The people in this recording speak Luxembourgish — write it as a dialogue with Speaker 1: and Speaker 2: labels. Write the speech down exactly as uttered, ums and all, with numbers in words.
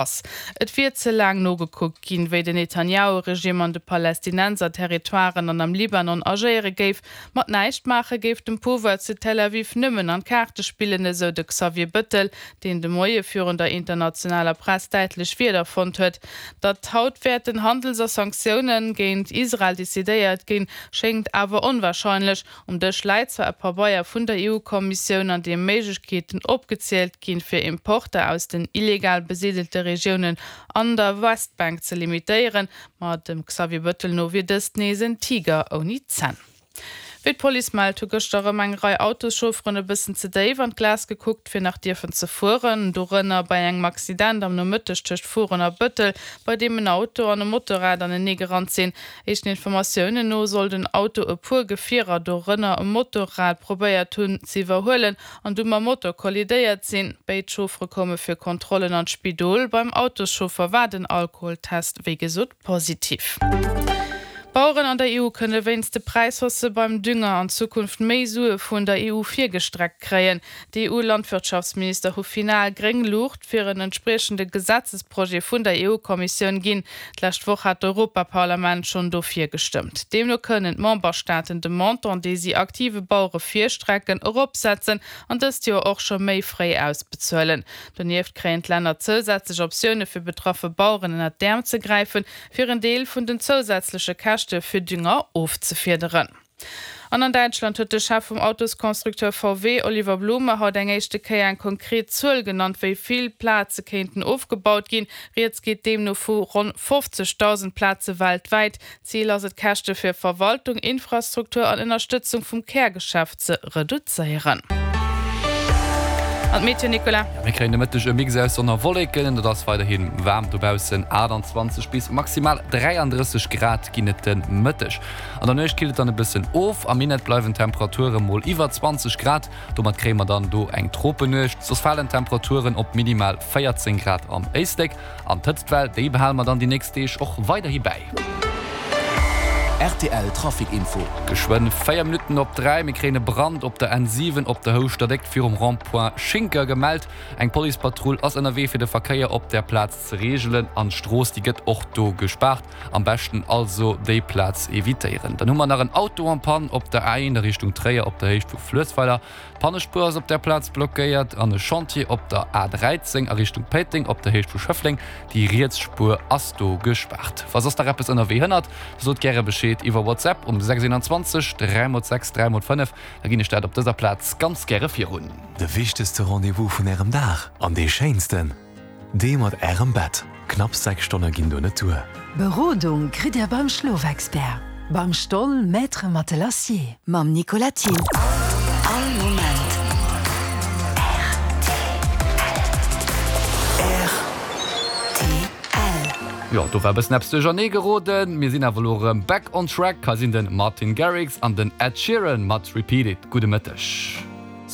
Speaker 1: ass. Et wier ze laang nogekuckt ginn, wéi den Netanjahu-Regimm an de Palästinenser-Territoiren an am Libanon agéiere géif. Mat näischt maache géif dem Pouvoir zu Tel Aviv nëmmen an d'Kaarte spillen, esou de Xavier Bëttel, deen de Moie virun der internationaler Press däitlech Wierder fonnt huet. Datt haut wäerten Handels a Sanktioune géint Israel decidéiert ginn, schéngt awer onwarscheinlech. Um Dësch läit zwar e Pabeier vun der EU-Kommissioun, an deem Méiglechkeeten opgezielt ginn, fir Importer aus den illegal besidelte Regiounen an der Westbank ze limitéieren, ma dem Xavier Bëttel no wier dëst nees en Tiger ouni Zänn. Wéi d'Police mellt, hu gëschter erëm eng Rei Autoschaufferen e bëssen ze déif an d'Glas gekuckt, fir nach dierfen ze fueren. Dorënner bei engem Accident am Nomëtteg tëscht Furen a Bëttel, bei deem en Auto an e Motorrad anenee gerannt sinn. Éischten Informatiounen no soll den Auto e puer Gefierer, dorënner e Motorrad, probéiert hunn ze iwwerhuelen an du mam Motor kollidéiert sinn. Béid Chauffere koume fir Kontrollen an d'Spidol. Beim Autoschauffer war den Alkoholtest wéi gesot positiv. D'Baueren an der EU kënne wéinst de Präishaussë beim Dünger an Zukunft méi Sue vun der EU virgestreckt kréien. D'EU-Landwirtschaftsminister hu final gréng Luucht fir en entspriechende Gesetzesprojet vun der EU-Kommissioun ginn. D'lescht Woch hat d'Europaparlament schonn dofir gestëmmt. Deemno kënnen d'Memberstaaten de Montant, dee si aktive Bauere virstrecken, eropsetzen an dëst Joer och scho méi fréi ausbezuelen. Donieft kréien d'Länner zousätzlech Optioune fir betraffe Baueren ënnert d'Äerm ze gräifen, fir en Deel vun den zousätzleche Käschte fir Dünger ofzefiederen. An an Däitschland huet de Chef vum Autosconstructeur V W, Oliver Blume, haut eng éischte Kéier eng konkret Zuel genannt, wéi vill Plaze kéinten ofgebaut ginn. Rieds geet deemno vu ronn fofzegdausend Plaze weltwäit. Zil ass et, d'Käschte fir Verwaltung, Infrastruktur an Ënnerstëtzung vum Kärgeschäft ze reduzéieren. An d'Meteo, Nicolas?
Speaker 2: Mir kréien de Mëtteg e Mix aus Sonn a Wolleken, et ass weiderhi waarm dobaussen, aachtanzwanzeg bis maximal dräiandrësseg Grad ginn et de Mëtteg. An der Nuecht killt et dann e bëssen of, am Minett bleiwen d'Temperature mol iwwer zwanzeg Grad, domat kréie mer dann do eng Tropennuecht. Soss falen d'Temperaturen op minimal véierzéng Grad am Éislek. An d'Hëtztwell, déi behale mer dann déi nächst Deeg och weiderhi bäi.
Speaker 3: Rtl Trafic Info.
Speaker 2: Geschwënn véier Minutten op dräi, mir kréien e Brand op der N siwen op der Houschter Déckt virum Rond-point Schinker gemellt. Eng Policepatrull ass ënnerwee fir de Verkéier op där Plaz ze reegelen an d'Strooss déi gëtt och do gespaart. Am beschten also déi Plaz evitéieren. Dann hu mer nach en Auto en panne op der A eent a Richtung Tréier op der Héicht vu Fluessweiler. D'Pannespuer ass op där Plaz blockéiert an e Chantier op der A dräizéng a Richtung Péiteng op der Héicht vu Schëffleng. Déi riets Spuer ass do gespaart. Wa soss nach eppes ënnerwee hënnert, da sot gäre Bescheed iwwer WhatsApp um sechs einundzwanzeg dräi mol sechs dräi mol fënnef, da ginn ech dat op dëser Plaz ganz gäre virun.
Speaker 4: De wichtegste Rendez-vous vun Ärem Dag an dee schéinsten, dee mat Ärem Bett. Knapps sechs Stonne ginn do net duer.
Speaker 5: Berodung kritt Dir beim Schlofexpert, beim Stoll Maître Matelassier.
Speaker 6: Mam Nicolas Thill. All Moment rtl.
Speaker 2: Jo, do war e bëssen eppes duerchernee geroden. Mir sinn awer elo erëm back on track. Hei sinn de Martin Garrix an den Ed Sheeran mat Repeat It. Gudde Mëtteg.